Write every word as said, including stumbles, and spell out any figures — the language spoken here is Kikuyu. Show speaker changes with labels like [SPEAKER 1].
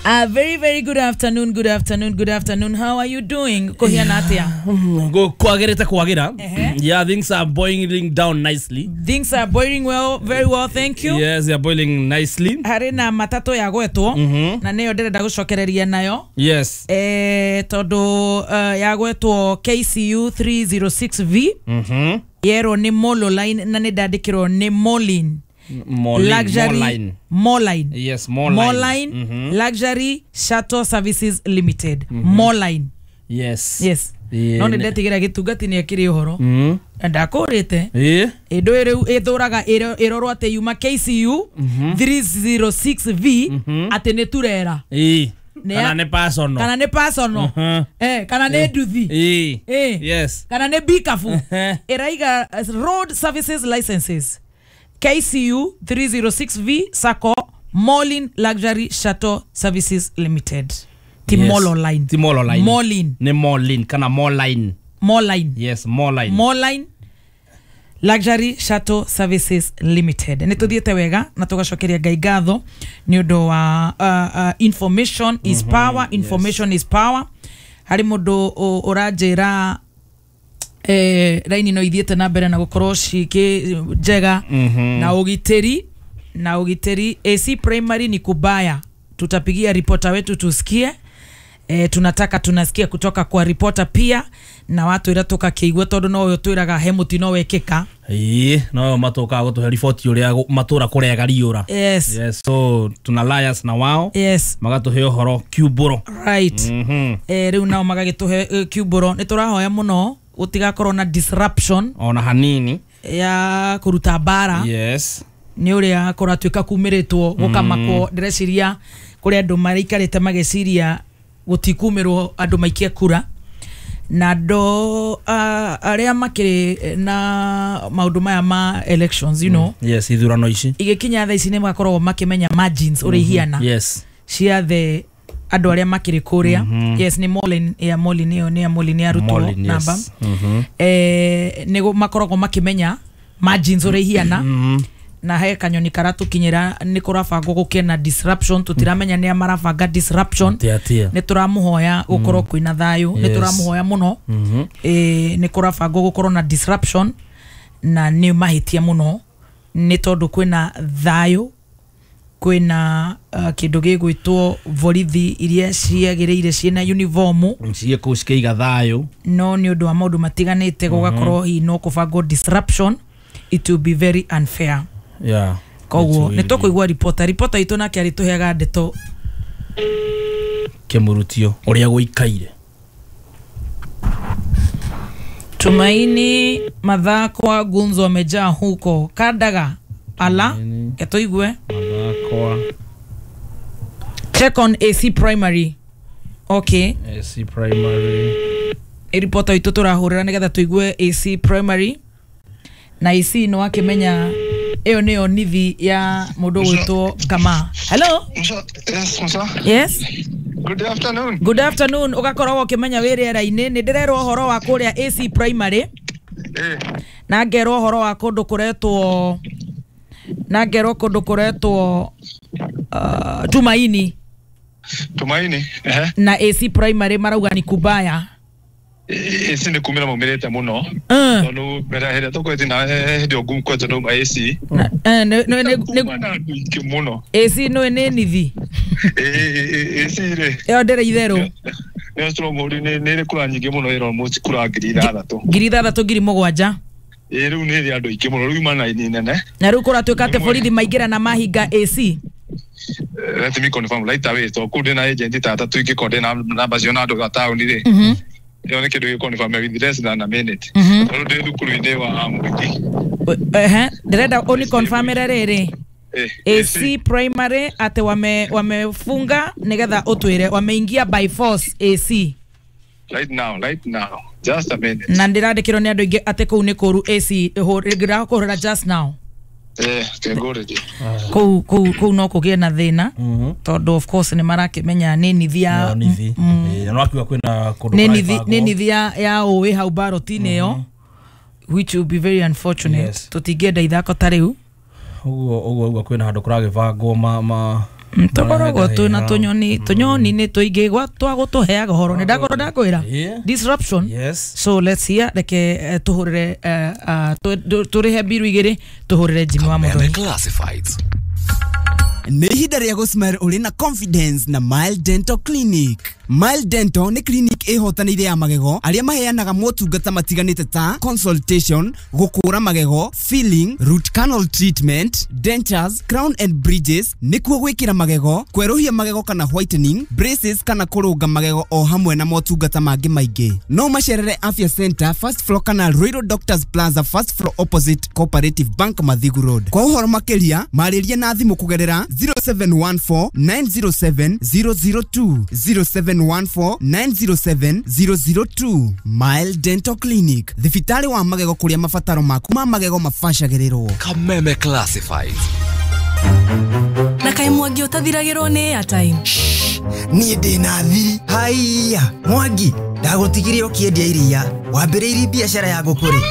[SPEAKER 1] A very very good afternoon, good afternoon, good afternoon. How are you doing? Kuhiana atia?
[SPEAKER 2] Go kwagirite kwagira.
[SPEAKER 1] Ehe.
[SPEAKER 2] Yeah, things are boiling down nicely.
[SPEAKER 1] Things are boiling well, very well, thank you.
[SPEAKER 2] Yes, they are boiling nicely.
[SPEAKER 1] Harĩ na matatũ ya gwetwo na nĩyo ndĩrenda gũcokereria nayo.
[SPEAKER 2] Yes.
[SPEAKER 1] Eh, tondũ uh, ya gwetwo K C U three oh six V
[SPEAKER 2] Mhm.
[SPEAKER 1] yerwo nĩ Molo Line na nĩ ndandĩkĩrwo nĩ Molin
[SPEAKER 2] Moline.
[SPEAKER 1] Luxury.
[SPEAKER 2] Moline.
[SPEAKER 1] Moline.
[SPEAKER 2] Yes, Moline.
[SPEAKER 1] Moline
[SPEAKER 2] Mhm.
[SPEAKER 1] Luxury Shuttle Services Limited, Moline.
[SPEAKER 2] Yes.
[SPEAKER 1] Yes.
[SPEAKER 2] Yeah.
[SPEAKER 1] No nĩ ndetigĩra gĩtungati nĩ akĩrĩ ũhoro
[SPEAKER 2] Mhm.
[SPEAKER 1] na ndakũrĩte.
[SPEAKER 2] Eh.
[SPEAKER 1] Ĩndũ rĩu ĩthũraga ĩrorwo atĩ yuma K C U three oh six V atĩ nĩ turera.
[SPEAKER 2] Eh.
[SPEAKER 1] Nĩ ya-
[SPEAKER 2] Kana nĩ personal.
[SPEAKER 1] Kana nĩ personal.
[SPEAKER 2] Mhm.
[SPEAKER 1] Eh, kana nĩ nduthi.
[SPEAKER 2] Eh.
[SPEAKER 1] Eh.
[SPEAKER 2] Yes.
[SPEAKER 1] Kana nĩ bikabu.
[SPEAKER 2] Eh.
[SPEAKER 1] Ĩraiga eh, road services licenses K C U three oh six V Sacco Molin Luxury Shuttle Services Limited, ti
[SPEAKER 2] Yes.
[SPEAKER 1] Molo Line.
[SPEAKER 2] Ti Molo Line.
[SPEAKER 1] Molin.
[SPEAKER 2] Nĩ Moline kana Moline.
[SPEAKER 1] Moline.
[SPEAKER 2] Yes, Moline.
[SPEAKER 1] Moline Luxury Shuttle Services Limited. Nä tå thiäte wega na tå gacokeria Ngai ngatho nä å ndå wa uh, uh, information is power, information is power. Harä må ndå å ranjä ra eh, raini no ithiĩte na mbere na gũkorwo cikĩ njega na ũgitĩri na ũgitĩri. A C Primary ni kubaya, tutapigia ripota wetu tusikie. E, tunataka tunasikia kutoka kwa ripota pia na watwĩra tũgakĩigua tondũ no ũyũ twĩraga he mũtino wekĩka.
[SPEAKER 2] Ĩĩ, no matũkaga gũtũhe riboti ũrĩa gũ- matũra kũrega riũra.
[SPEAKER 1] Yes.
[SPEAKER 2] Yes, so tuna liars na wao
[SPEAKER 1] yes
[SPEAKER 2] magatũhe ũhoro kiumbũro.
[SPEAKER 1] Right.
[SPEAKER 2] Mhm.
[SPEAKER 1] E, rĩu nao magagĩtũhe eh, kiumbũro. Nĩ tũrahoya mũno gũtigakorwo na disruption
[SPEAKER 2] ona hanini
[SPEAKER 1] ya kũruta mbara
[SPEAKER 2] yes
[SPEAKER 1] nĩ ũrĩa kũratuĩka kumĩrĩtwo gũkamakwo. Ndĩreciria kũrĩ andũ maraikarĩte magĩciria gũtikumĩrwo andũ maikie kura na andũ uh, arĩa makĩrĩ na maũndũ maya ma elections you know
[SPEAKER 2] Yes, ithurano ici.
[SPEAKER 1] Igĩkinya thaa ici nĩ makoragwo makĩmenya margins ũrĩa ihiana
[SPEAKER 2] yes
[SPEAKER 1] cia the andũ arĩa makĩrĩ kũrĩa. Yes, nĩ Molin ya Molin, ĩyo nĩ ya Molin ya arutwo
[SPEAKER 2] Molin, yes.
[SPEAKER 1] namba.
[SPEAKER 2] Mhm.
[SPEAKER 1] eh, nĩ makoragwo makĩmenya margins ũrĩa ihiana
[SPEAKER 2] Mhm.
[SPEAKER 1] na he kanyoni karatũkinyĩra nĩ kũrabangwo gũkĩe na disruption. Tũtiramenya nĩa marabanga disruption.
[SPEAKER 2] Atia atia.
[SPEAKER 1] Nĩ tũramũhoya gũkorwo kwĩna thayũ, nĩ
[SPEAKER 2] Yes.
[SPEAKER 1] tũramũhoya mũno.
[SPEAKER 2] Mhm.
[SPEAKER 1] Ĩ, nĩ kũrabangwo gũkorwo na disruption na nĩ mahĩtia mũno nĩ tondũ kwĩna thayũ, kwĩna uh, kĩndũ gĩgwĩtwo borithi iria ciagĩrĩire ciĩna uniform.
[SPEAKER 2] Ciĩ kũu cikĩiga thayũ.
[SPEAKER 1] No nĩ ũndũ wa maũndũ matiganĩte gũgakorwo hihi no kũbangwo disruption. It will be very unfair.
[SPEAKER 2] Yeah
[SPEAKER 1] koguo
[SPEAKER 2] It will
[SPEAKER 1] nĩ tũkũigua ripota ripota itũ nake arĩtũheaga ndeto.
[SPEAKER 2] Kĩmurutio ũrĩa gũikaire.
[SPEAKER 1] Tumaini Mathakwa gunzo wamejaa huko Kandaga ala.
[SPEAKER 2] Tumaini.
[SPEAKER 1] Ketũigue.
[SPEAKER 2] Mathakwa.
[SPEAKER 1] Check on A C Primary, okay.
[SPEAKER 2] A C Primary.
[SPEAKER 1] Ripota itũ tũrahũrĩra nĩgetha tũigue A C Primary na A C nĩ wakĩmenya ĩyo nĩyo nithi ya mũndũ ũgwĩtwo Kama. Hello.
[SPEAKER 3] Musa, yes, Musa.
[SPEAKER 1] Yes.
[SPEAKER 3] Good afternoon.
[SPEAKER 1] Good afternoon. Ũgakoragwo ũkĩmenya wĩ rĩera-inĩ. Nĩ ndĩrerwo ũhoro wa kũrĩa A C Primary
[SPEAKER 3] Eh,
[SPEAKER 1] na ngerwo ũhoro wa kũndũ kũretwo na ngerwo kũndũ kũretwo uh, Tumaini.
[SPEAKER 3] Tumaini. Eh.
[SPEAKER 1] Na A C Primary marauga ni kubaya.
[SPEAKER 3] A C nĩ kumĩra maumĩrĩte mũno.
[SPEAKER 1] Mm.
[SPEAKER 3] Tondũ mbere hĩndĩ ĩrĩa tũkwete na hĩndĩ ĩyo ngũkwete nauma A C.
[SPEAKER 1] Na- eh, nĩ- nĩ- nĩ- nĩ-
[SPEAKER 3] Kuma na andũ aingĩ mũno.
[SPEAKER 1] A C nĩ nĩ nithi.
[SPEAKER 3] Eh, A C rĩ.
[SPEAKER 1] Ĩyo ndĩrĩ itherũ.
[SPEAKER 3] Nĩyo stronghold nĩ nĩ ĩrĩ kura nyingĩ mũno, ĩro almost kura ngiri ithathatũ.
[SPEAKER 1] Ngiri ithathatũ, ngiri mũgwanja.
[SPEAKER 3] Ĩ rĩu nĩ ĩrĩ andũ aingĩ mũno, rĩu ima na ini nene.
[SPEAKER 1] Na rĩu kũratuĩka atĩ borithi maingĩra na mahinga A C.
[SPEAKER 3] Eh, Let me confirm right away. To kũu ndĩna agent ta atatũ ingĩkorwo ndĩna namba cio na andũ a taũni rĩ.
[SPEAKER 1] Mhm.
[SPEAKER 3] Ĩyo nĩ kĩndũ gĩ confirm with less than a minute.
[SPEAKER 1] Mhm.
[SPEAKER 3] Tondũ ndĩ thukuru-inĩ wa mũingĩ.
[SPEAKER 1] Ehe, ndĩrenda ũni confirmĩre rĩrĩ
[SPEAKER 3] Eh,
[SPEAKER 1] A C Primary atĩ wame wamefunga nĩgetha ũtwĩre wameingia by force A C.
[SPEAKER 3] Right now, right now. Just a minute.
[SPEAKER 1] Na ndĩrandĩkĩrwo nĩ andũ aingĩ atĩ kũu nĩ kũru A C ndĩrakũhũrĩra just now.
[SPEAKER 3] Eh, kengũrĩrie.
[SPEAKER 1] Kũu kũu kũu no kũgĩe na thĩna
[SPEAKER 2] Mhm.
[SPEAKER 1] tondũ of course nĩ marakĩmenya nĩ nithi ya
[SPEAKER 2] No, nithi. Eh, no akiuga kwĩna kũndũ
[SPEAKER 1] nĩ nithi
[SPEAKER 2] kũrabangwo.
[SPEAKER 1] nĩ nithi ya ya ũĩ hau baroti-inĩ ĩyo, which will be very unfortunate.
[SPEAKER 2] Yes.
[SPEAKER 1] Tũtingĩenda ithako ta rĩu.
[SPEAKER 2] Ũguo ũguo ũguo kwĩna handũ kũragĩbangwo ma ma
[SPEAKER 1] Tũkoragwo twĩna tũnyoni, tũnyoni nĩ tũingĩ gwa twagũtũheaga ũhoro, nĩ ndakorwo ndakwĩra
[SPEAKER 2] Yeah.
[SPEAKER 1] disruption.
[SPEAKER 2] Yes.
[SPEAKER 1] So let's hear, reke eh, tũhũrĩre eh, ah, tũ- tũ- tũrĩhe mbiru igĩrĩ, tũhũrĩre Jimmy wa
[SPEAKER 4] Kameme
[SPEAKER 1] Muthoni.
[SPEAKER 4] Classifieds.
[SPEAKER 5] Nĩ ihinda rĩa gũsmile ũrĩ na confidence na Mile Dental Clinic. Mile Dental nĩ clinic ĩhotanĩire ya magego arĩa maheanaga motungata matiganĩte ta consultation, gũkũra magego, filling, root canal treatment, dentures, crown and bridges, nĩkuo gwĩkĩra magego, kwerũhia magego kana whitening, braces kana kũrũnga magego o hamwe na motungata mangĩ maingĩ. No macerere Afya Center first floor kana Ruiru Doctors Plaza first floor opposite Cooperative Bank, Mathigu Road. Kwa ũhoro makĩria marĩrie na thimũ kũgerera zero seven one four nine zero seven zero zero two, zero seven one four nine zero seven zero zero two. Mile Dental Clinic, thibitarĩ wa magego kũrĩa mabataro maku ma magego mabacagĩrĩrwo.
[SPEAKER 4] Kameme Classifieds.
[SPEAKER 6] Na kaĩ Mwangi ũtathiragĩrwo nĩ airtime?
[SPEAKER 7] Niĩ ndĩ na thiri. Haiya Mwangi, ndagũtigire ũkĩendia iria, wambĩrĩirie biacara ya ngũkũ rĩ?